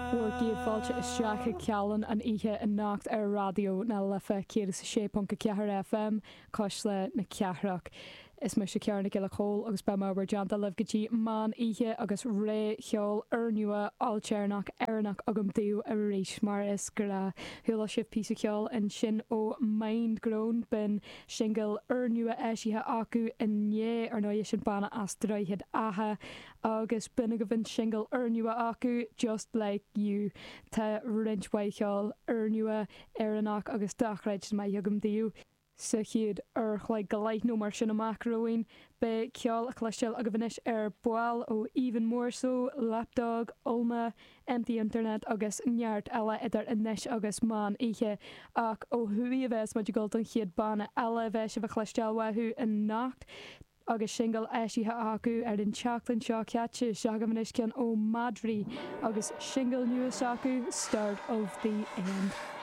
Bhur gcéad fáilte isteach chuig Cealann an oíche anocht ar Raidió na Life 106.4 FM, Cuisle na Cathrach. Is mise Ciara Nic Giolla Chóill agus beidh mé i bhur dteannta libh go dtí meán oíche agus rogha cheoil úrnua ailtéarnach Éireannach agam daoibh arís mar is gnáth. Chuala sibh píosa ceoil ansin ó Mindgrown, b'in singil úrnua eisithe acu inné, ar ndóigh sin banna as Droichead Átha agus b'in agaibh an singil úrnua acu, Just Like You. Tá roinnt mhaith cheoil úrnua Éireannach agus dochreidte maith agam daoibh. Sa chéad uair a chloig go leith nó mar sin amach romhainn, beidh ceol a chloisteáil agaibh anois ar ball ó Even More So, Lapdog, Ulma, Empty Internet agus neart eile idir anois agus meán oíche. Ach ó thuaidh a bheas muid ag dul don chéad banna eile a bheas sibh a chloisteáil uathu anocht. Agus singil eisithe acu ar an tseachtain seo caite, seo agaibh anois ceann ó Madraí agus singil nua s'acu, Start of the End.